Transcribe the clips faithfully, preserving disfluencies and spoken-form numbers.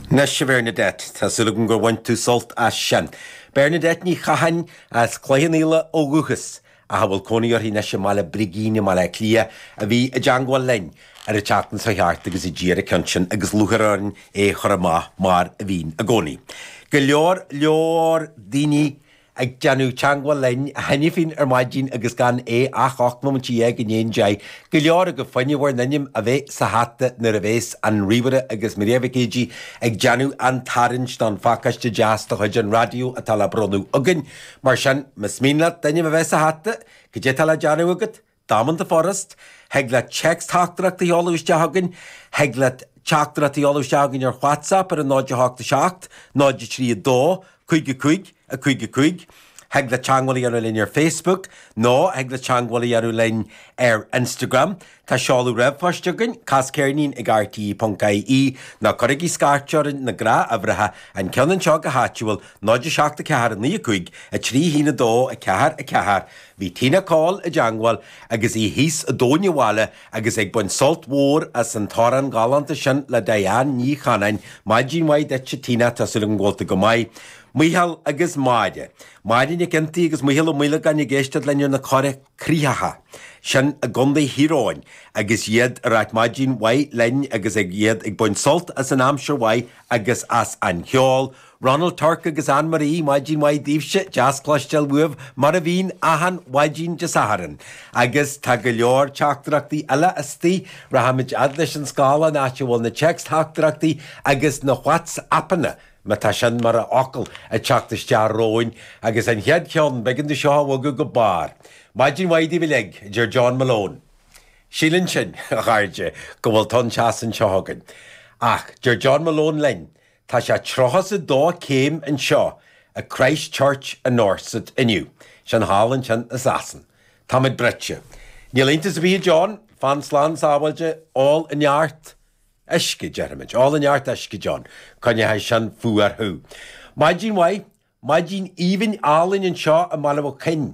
Anois a Bhernadette, tá súil agam gur bhain tú sult as sin. Bernadette Ní Chatháin as Cloich Cheann Fhaola ó dhúchas, ach a bhfuil cónaí uirthi anois i mBaile Brigín i mBaile Átha Cliath, a bhí i dteangmháil linn ar an tseachtain seo thart agus a d'iarr an ceann sin agus lúcháir orainn é a chur amach mar a bhíonn i gcónaí. Go leor leor daoine ag déanamh teangmháil linn cheana féin ar maidin agus gan é ach ocht nóiméad déag i ndiaidh a deich. Go leor agaibh fá choinne bhur n-ainm a bheith sa hata nuair a bhéas an ríomhaire agus Maria Mhic Éadaigh ag déanamh an tarraingt don phacáiste deas de chuid an raidió atá le bronnadh againn. Mar sin, más mian leat d'ainm a bheith sa hata, cad é atá le déanamh agat? Damanta furast, thig leat téacs-teachtaireacht a sheoladh isteach chugainn, thig leat teachtaireacht a sheoladh isteach chugainn ar WhatsApp ar an náid a hocht a seacht, náid a trí a dó, cúig a cúig, a cúig a cúig, thig leat teangmháil a dhéanamh linn ar Facebook nó thig leat teangmháil a dhéanamh linn ar Instagram. Tá seoladh ríomhphoist againn, cas ceirnín ag rte ponc ie, nó cuirigí scairt orainn na gnáthuimhreacha, an ceann anseo go háitiúil, náid a seacht a ceathair a naoi a cúig, a trí a haon a dó, a ceathair a ceathair. Bhí Tina Coll i dteangmháil agus í thíos i dTóin an Bhaile agus ag baint sult mhór as an t-amhrán galánta sin le Diane Ní Chanainn. Maidin mhaith duit a Tina, tá súil agam go bhfuil tú go maith. Mícheál agus Máire. Máire Nic Iontaigh agus Mícheál Ó Maolagáin ag éisteacht linn ar na Cora Críochacha. Sin i gContae Thír Eoghain agus iad ag ráit maidin mhaith linn agus ag iad ag baint sult as an aimsir mhaith agus as an cheol. Ronald Turk agus Anne Marie, maidin mhaith daoibhse, deas cloisteáil uaibh mar a bhíonn achan mhaidin Dé Sathairn. Agus tá go leor teachtaireachtaí eile istigh, rachaimid fhad leis an scáileán áit a bhfuil na téacs-theachtaireachtaí agus na WhatsAppanna, má tá sin mar fhocal, ag teacht isteach romhainn. Agus an chéad cheann, b'éigean dom seo a bhogadh go barr. Maidin mhaith daoibh uilig, a deir John Malone. Síleann sinn, a chairde, go bhfuil tonn teasa anseo againn. Ach deir John Malone linn, tá sé tríocha is a dó céim anseo i Christ Church i nDorset inniu. Sin thall ansin i Sasain. Táimid bruite. Níl iontas ar bith a John, fan slán sábháilte, ól neart uisce, déarfaimid. Ól neart uisce, John. Coinneoidh sin fuar thú. Maidin mhaith, maidin aoibhinn álainn anseo i mBaile Mhic Coinn.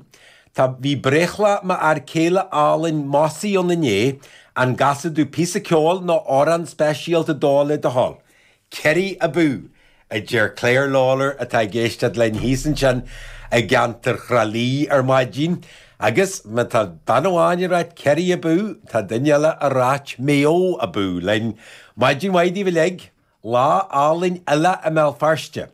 Tá, bhí breithlá m'fhear céile álainn Mossie ann inné, an gcasfaidh tú píosa ceoil nó amhrán speisialta dó le do thoil? Kerry abú! a deir Claire Lawlor atá ag éisteacht linn thíos ansin i gceantar Thrá Lí ar maidin. Agus má tá bean amháin ag ráit Kerry abú, tá duine eile ag ráit Maigh Eo abú linn. Maidin mhaith daoibh uilig, lá álainn eile i mBéal Feirste.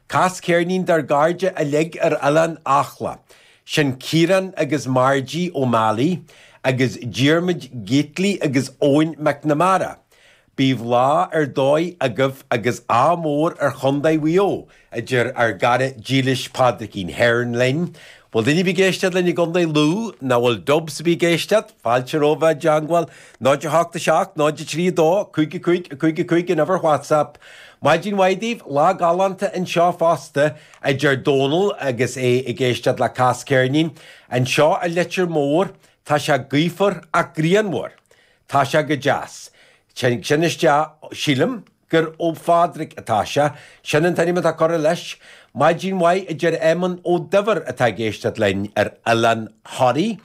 Cas ceirnín dár gcairde uilig ar Oileán Acla. Sin Ciarán agus Margie O'Malley agus Diarmuid Gately agus Eoin McNamara. Bíodh lá ar dóigh agaibh agus ádh mór ar Chontae Mhaigh Eo, a deir ár gcara dílis Pádraigín Hearn linn. Bhfuil duine ar bith ag éisteacht linn i gContae Lú, nó bhfuil Dubs ar bith ag éisteacht? Fáilte romhaibh i dteangmháil, náid a hocht a seacht, náid a trí a dó, cúig a cúig, a cúig a cúig an uimhir WhatsApp. Maidin mhaith daoibh, lá galánta anseo fosta, a deir Dónal agus é ag éisteacht le Cas Ceirnín. Anseo i Leitir Móir, tá sé gaofar ach grianmhar. Tá sé go deas. Sin isteach, sílim gur ó Phádraig atá sé. Sin an t-ainm atá curtha leis. Maidin mhaith, a deir Éamonn Ó Duibhir atá ag éisteacht linn ar Oileán Thoraí.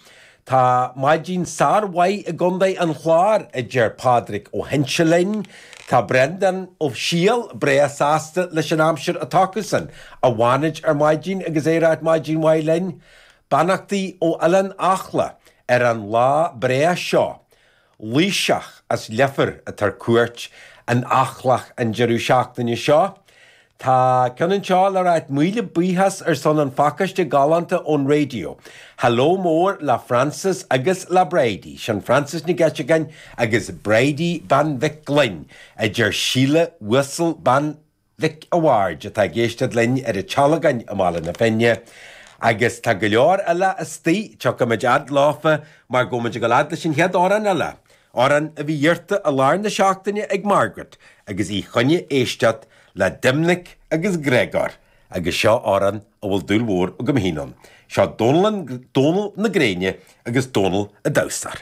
Tá maidin sármhaith i gContae an Chláir, a deir Pádraig Ó hInse linn. Tá Breandán Ó Siadhail breá sásta leis an aimsir atá acusan i bhFánaid ar maidin agus é ag ráit maidin mhaith linn. Beannachtaí ó Oileán Acla ar an lá breá seo. Laoiseach as Leifear atá ar cuairt in Eachach an deireadh seachtaine seo. Tá ceann anseo le ráit míle buíochas ar son an phacáiste galánta ón raidió. Hello mór le Frances agus le Bridie, sin Frances Nic Eiteagáin agus Bridie Bean Mhic Gloinn, a deir Síle Uasal Bean Mhic a' Bhaird atá ag éisteacht linn ar an Tealgán i mBaile na Finne. Agus tá go leor eile istigh, tiocfaimid fhad leofa mar go bhfuil muid ag dul fhad leis an chéad amhrán eile, amhrán a bhí iarrta i lár na seachtaine ag Margaret agus í choinne éisteacht le Doimnic agus Gregor agus seo amhrán a bhfuil dúil mhór agam féin ann. Seo Dónal, Dónal na Gréine agus Dónal an Damhsóir.